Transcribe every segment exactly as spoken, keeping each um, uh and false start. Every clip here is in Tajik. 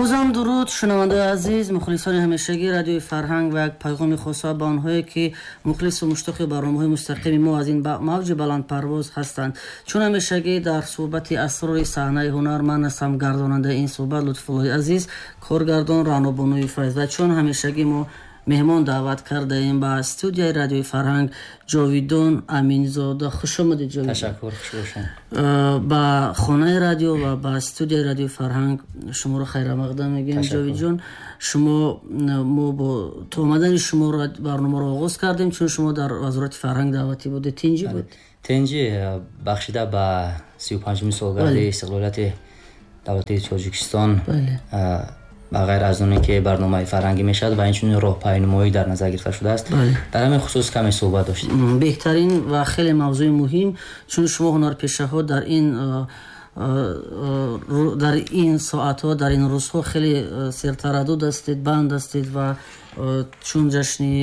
Бозам дуруд, шунавандаи азиз, мухлисони ҳамешагии Радиои Фарҳанг ва як паёми хоса ба онҳое ки мухлису муштоқи барномаҳои мустақими мо аз ин мавҷи баландпарвоз ҳастанд. Чун ҳамешагӣ дар суҳбати асрори саҳнаи ҳунар ман ҳастам гардонандаи ин суҳбат Лутфуллои азиз, коргардон Раънобонуи Файз. Ва чун ҳамешагӣ мо меҳмон даъват кардаем ба студияи Радиои Фарҳанг Ҷовидон Аминзода. Хуш омадед, Ҷовидон. Ташаккур, хуш бошед. Ба хонаи радио ва ба студияи Радиои Фарҳанг шуморо хайрамақдам мегӯем, Ҷовидҷон. Шумо мо бо то омадани шумо барномаро оғоз кардем, чун шумо дар Вазорати фарҳанг даъватӣ будед. Тинҷӣ буд? Тинҷӣ бахшида ба сию панҷуми солгарди истиқлолияти давлати Тоҷикистон, ба ғайр аз оне ки барномаи фарҳангӣ мешавад ва инчунин роҳпайнумоӣ дар назар гирифта шудааст, дар ҳамин хусус каме суҳбат доштем. Беҳтарин ва хеле мавзӯи муҳим, чун шумо ҳунарпешаҳо дар ин дар ин соатҳо, дар ин рӯзҳо хеле сертараддуд ҳастед, банд ҳастед ва чун ҷашни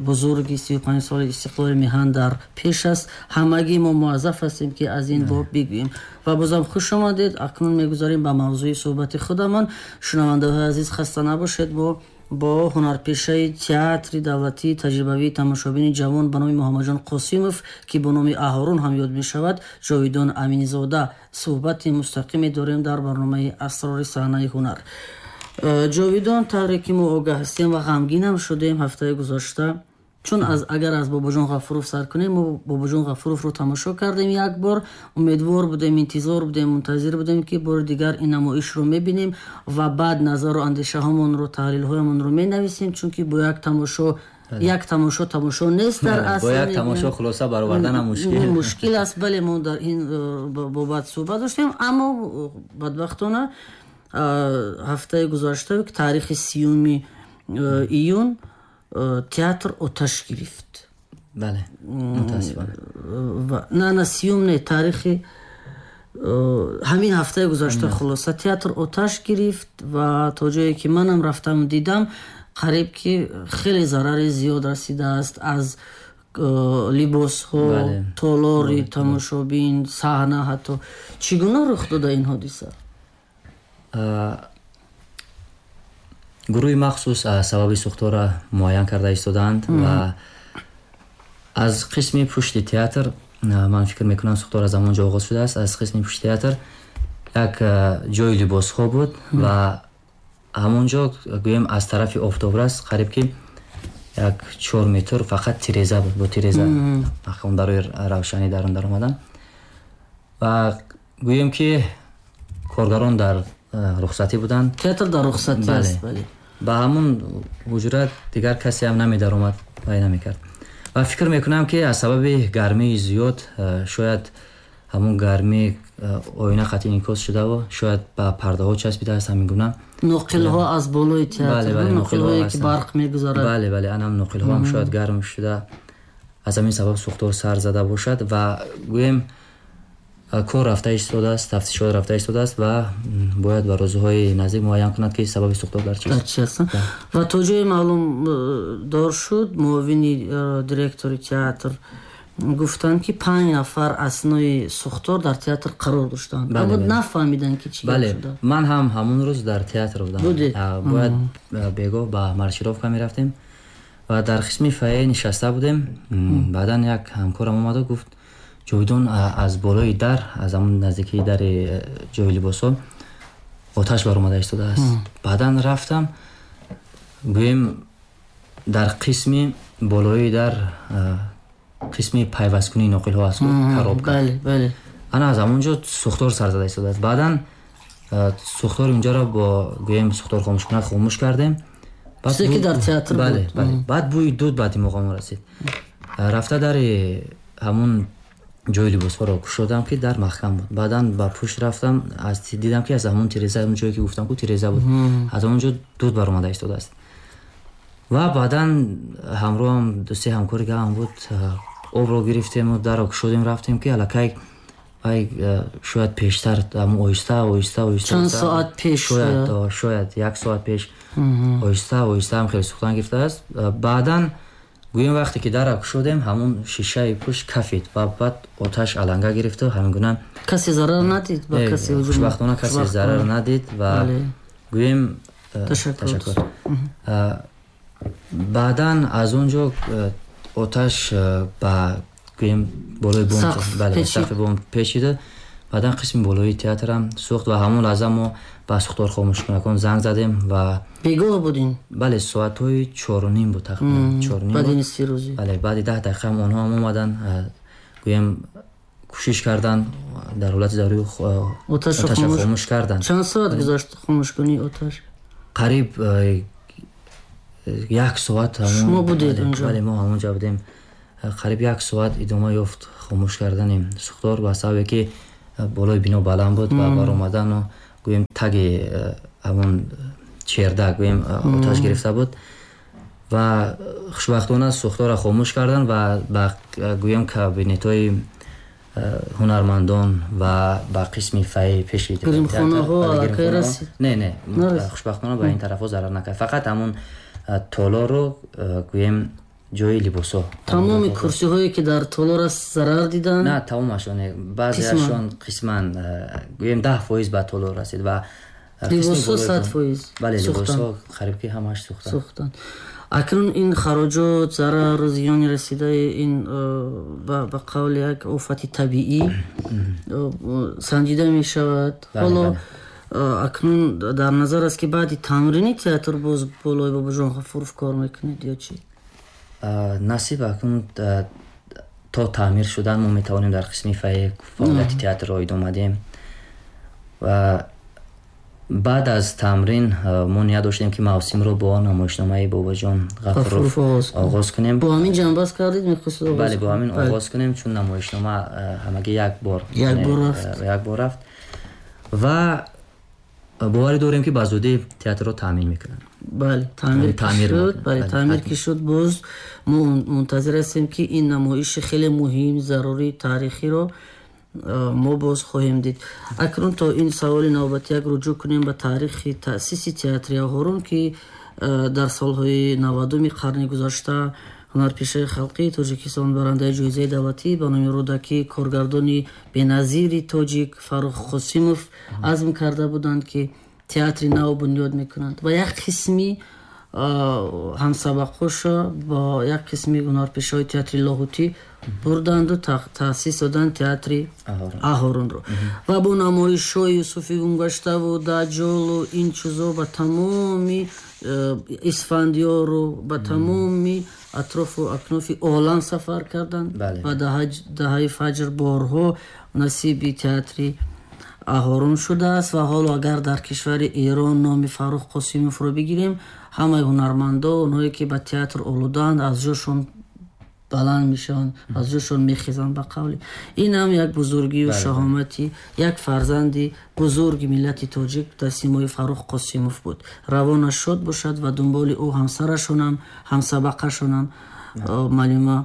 бузурги сию панҷ соли истиқлоли меҳан дар пеш аст, ҳамагӣ мо муаззаф ҳастем ки аз ин боб бигӯем. Ва бозам хуш омадед. Акнун мегузарем ба мавзӯи суҳбати худамон. Шунавандаҳои азиз, хаста набошед, бо бо ҳунарпешаи театри давлатии таҷрибавии тамошобини ҷавон ба номи Муҳаммадҷон Қосимов, ки бо номи Аҳорун ҳам ёд мешавад, Ҷовидон Аминзода суҳбати мустақиме дорем дар барномаи асрори саҳнаи ҳунар. Ҷовидон, тавре ки мо огаҳ ҳастем ва ғамгинам шудем ҳафтаи гузашта, чун аз агар аз Бобоҷон Ғафуров сар кунем, мо Бобоҷон Ғафуровро тамошо кардем як бор, умедвор будем, интизор будем, мунтазир будем ки бори дигар ин намоишро мебинем ва баъд назару андешаҳомонро, таҳлилҳоямонро менависем, чунки бо як тамошо як тамошо тамошо нест дар асл. Бо як тамошо хулоса баровардан мушкил мушкил аст. Бале, мо дар ин бобат суҳбат доштем, аммо бадбахтона ҳафтаи гузашта, ки таърихи сиюми июн, театр оташ гирифт. Бале, мутаассифона. На, на, сиюм не, таърихи ҳамин ҳафтаи гузашта, хулоса театр оташ гирифт ва то ҷое ки манам рафтам дидам, қариб ки хеле зарари зиёд расидааст аз либосҳо, толори тамошобин, саҳна ҳатто. Чӣ гуна рух дода ин ҳодиса? Гурӯҳи махсус сабаби сӯхторро муайян карда истодаанд ва аз қисми пушти театр, ман фикр мекунам, сӯхтор аз ҳамон ҷо оғоз шудааст. Аз қисми пушти театр як ҷои либосҳо буд ва ҳамон ҷо, гӯем, аз тарафи офтобрас қариб ки як чор метр фақат тиреза буд, бо тиреза барои равшанӣ дар он даромадан. Ва гӯем ки коргарон дар рухсатӣ буданд. Театр дар рухсатӣ аст, бале. Ба ҳамун ҳуҷра дигар касе ҳам намедаромад ва намекард. Ва фикр мекунам ки аз сабаби гармии зиёд, шояд ҳамун гармӣ оина қатъи инъикос шудаву шояд ба пардаҳо часпидааст, ҳамин гуна. Ноқилҳо аз болои театр, ноқилҳое ки барқ мегузарад. Бале, бале, анам ноқилҳо ҳам шояд гарм шуда, аз ҳамин сабаб сӯхтор сар зада бошад. Ва гӯем, кор рафта истодааст, тафтишот рафта истодааст ва бояд ба рӯзҳои наздик муайян кунад ки сабаби сӯхтор дар чист. Дар чи аст? Ва то ҷое маълум дор шуд, муовини директори театр гуфтанд ки панҷ нафар аснои сӯхтор дар театр қарор доштанд, аммо нафаҳмиданд ки чӣ гап шуда. Ман ҳам ҳамон рӯз дар театр будам. Бояд бегоҳ ба маршировка мерафтем ва дар қисми фойе нишаста будем. Баъдан як ҳамкорам омаду гуфт: Ҷовидон, аз болои дар, аз ҳамон наздикии дари ҷои либосҳо оташ баромада истодааст. Баъдан рафтам, гӯем, дар қисми болои дар қисми пайвасткунии ноқилҳо аст, коробка. Ана аз ҳамон ҷо сӯхтор сар зада истодааст. Баъдан сӯхтори унҷоро бо, гӯем, сӯхтор хомӯшкунак хомӯш кардем. Чизе ки дар театр буд. Баъд бӯи дуд ба димоғамон расид. Рафта дари ҳамон ҷои либосҳоро кушодам ки дар маҳкам буд. Баъдан ба пушт рафтам, аз дидам ки аз ҳамон тиреза, ҳамон ҷое ки гуфтам ку тиреза буд, аз ҳамон ҷо дуд баромада истодааст. Ва баъдан ҳамроҳам ду се ҳамкори гаам буд, обро гирифтему дарро кушодем, рафтем ки аллакай вай шояд пештар ҳамон оҳиста оҳиста оҳиста чанд соат пеш, шояд шояд як соат пеш оҳиста оҳиста ҳам хеле сӯхтан гирифтааст. Баъдан гӯем, вақте ки дарро кушодем, ҳамон шишаи пушт кафид ва баъд оташ аланга гирифту ҳамин гуна. Касе зарар надид? Ба касе хушбахтона касе зарар надид ва Гӯем, ташаккур. Баъдан аз он ҷо оташ ба, гӯем, болои бом, бале, сақфи бом печида, баъдан қисми болои театрам сӯхт ва ҳамон лаҳза мо ба сӯхтор хомӯшкунакон занг задем ва Бегоҳ будин? Бале, соатҳои чору ним буд тақрибан, чоруним. Баъди нисфи рӯзӣ. Бале, баъди даҳ дақиқаам онҳо ҳам омаданд, гӯем, кӯшиш карданд, дар ҳолати зарурӣ оташро хомӯш карданд. Чанд соат гузашт хомӯшкунии оташ? Қариб як соат. Шумо будед онҷо? Бале, мо ҳамонҷо будем. Қариб як соат идома ёфт хомӯш кардани сӯхтор, ба сабабе ки болои бино баланд буд ва баромадану, гӯем, таги ҳамон чердак, гӯем, оташ гирифта буд ва хушбахтона сӯхторро хомӯш карданд ва ба, гӯем, кабинетҳои ҳунармандон ва ба қисми фойе пеши Гримхонаҳо аллакай расид? Не, не, хушбахтона ба ин тарафҳо зарар накард, фақат ҳамон толорро, гӯем, ҷои либосҳо. Тамоми курсиҳое ки дар толор аст, зарар диданд? На, тамомашон, баъзеашон қисман, гӯем, даҳ фоиз ба толор расид ва Либосҳо сад фоиз? Бале, либосҳо қариб ки ҳамааш сӯхтанд. Сӯхтанд. Акнун ин хароҷот, зарару зиёни расидаи ин ба қавли як офати табиӣ санҷида мешавад. Ҳоло акнун дар назар аст, ки баъди тамрини театр боз болои Бобоҷон Ғафуров кор мекунед ё чӣ? Насиб, акнун то таъмир шудан мо метавонем дар қисми фойе фаъолияти театрро идома диҳем ва баъд аз тамрин мо ният доштем, ки мавсимро бо намоишномаи Бобоҷон Ғафуров оғоз кунем. Бо ҳамин ҷанбаст кардед, мехостед? Бале, бо ҳамин оғоз кунем, чун намоишнома ҳамагӣ як бор як бор рафт ва боварӣ дорем, ки ба зудӣ театрро таъмин мекунанд. Бале, таъмир шуд, бале, таъмир ки шуд, боз мо мунтазир ҳастем, ки ин намоиши хеле муҳим, зарурӣ, таърихиро мо боз хоҳем дид. Акнун то ин саволи навбатияк руҷӯъ кунем ба таърихи таъсиси театри Аҳорун, ки дар солҳои навадуми қарни гузашта ҳунарпешаи халқии Тоҷикистон, барандаи ҷоизаи давлатӣ ба номи Рӯдакӣ, коргардони беназири тоҷик Фаррух Қосимов азм карда буданд, ки театри нав бунёд мекунанд ва як қисми ҳамсабақоша бо як қисми ҳунарпешаҳои театри Лоҳутӣ бурданду таъсис доданд театри Аҳорунро ва бо намоишҳои Юсуфи гумгаштаву Даҷолу ин чизо ба тамоми э, Исфандиёру ба тамоми атрофу акнофи олам сафар карданд ва даҳаи фаҷр борҳо насиби театри Аҳорун шудааст. Ва ҳоло агар дар кишвари Эрон номи Фаррух Қосимовро бигирем, ҳамаи ҳунармандо, онҳое ки ба театр олудаанд, аз ҷошон баланд мешаванд, аз ҷошон мехезанд. Ба қавли ин ҳам як бузургию шаҳомати як фарзанди бузурги миллати тоҷик дар симои Фаррух Қосимов буд. Равонаш шод бошад ва дунболи ӯ ҳамсарашонам, ҳамсабақашонам, малима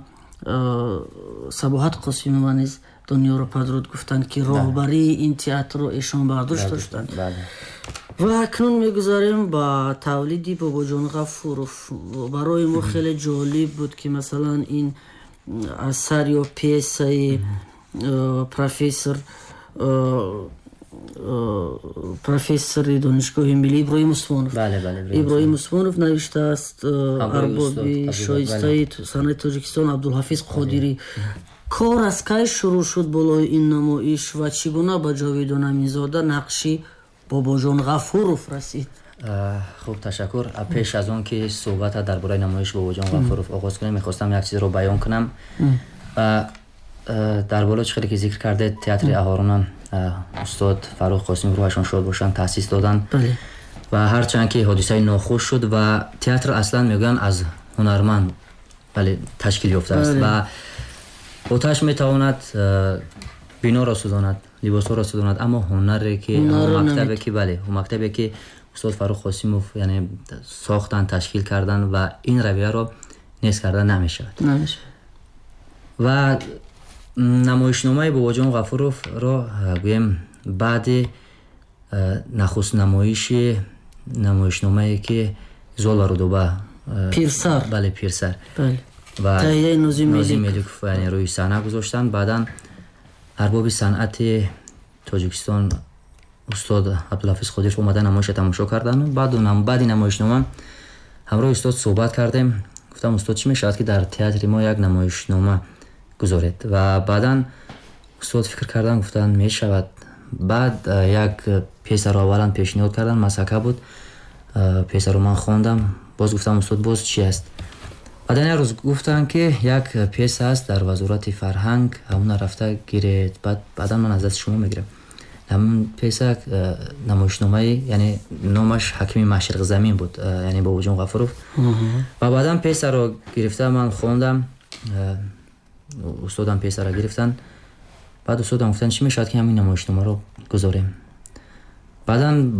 Сабоҳат Қосимова низ дунёро падруд гуфтанд, ки роҳбарии ин театрро эшон бар дӯш доштанд. Ва акнун мегузарем ба тавлиди Бобоҷон Ғафуров. Барои мо хеле ҷолиб буд, ки масалан ин асар ё пьесаи профессор профессори Донишгоҳи миллӣ Иброҳим Усмонов Иброҳим Усмонов навиштааст, арбоби шоистаи санъати Тоҷикистон Абдулҳафиз Қодирӣ. Кор аз кай шурӯъ шуд болои ин намоиш ва чӣ гуна ба Ҷовидон Аминзода нақши Бобоҷон Ғафуров расид? Хуб, ташаккур. Пеш аз он ки суҳбата дар бораи намоиши Бобоҷон Ғафуров оғоз кунем, мехостам як чизро баён кунам. Дар боло чӣ хеле ки зикр кардед, театри Аҳорунам устод Фаррух Қосимов, рӯҳашон шод бошанд, таъсис доданд ва ҳарчанд ки ҳодисаи нохуш шуд ва театр аслан мегӯянд аз ҳунарманд, бале, ташкил ёфтааст ва оташ метавонад биноро сӯзонад, либосҳоро сӯзонад, аммо ҳунаре ки, мактабе ки, бале, мактабе ки устод Фаррух Қосимов, яъне, сохтанд, ташкил карданд ва ин равияро нест карда намешавад. Ва намоишномаи Бобоҷон Ғафуровро, гӯем, баъди нахуст намоиши намоишномае ки Зол ва Рудоба, Пирсар, бале, Пирсар ва таҳияи Нозим Меликов, яъне, рӯи саҳна гузоштанд, баъдан арбоби санъати Тоҷикистон Устод Абдулҳафиз Қодиров омада намоиша тамошо кардан. Баъд баъди намоишнома ҳамроҳи устод суҳбат кардем. Гуфтам: «Устод, чӣ мешавад, ки дар театри мо як намоишнома гузоред?» Ва баъдан устод фикр кардан, гуфтанд, мешавад. Баъд як пьесаро аввалан пешниҳод кардан, «Масака» буд. Пьесаро ман хондам, боз гуфтам: «Устод, боз чӣ аст?» Баъдан як рӯз гуфтанд, ки як пьеса аст дар Вазорати фарҳанг, ҳамона рафта гиред, баъд баъдан ман аз дасти шумо мегирам. Ҳамон пьеса намоишномаи, яъне номаш «Ҳакими Машриқзамин» буд, яъне Бобоҷон Ғафуров. Ва баъдан пьесаро гирифта ман хондам, устодам пьесаро гирифтанд. Баъд устодам гуфтанд, чӣ мешавад, ки ҳамин намоишномаро гузорем. Баъдан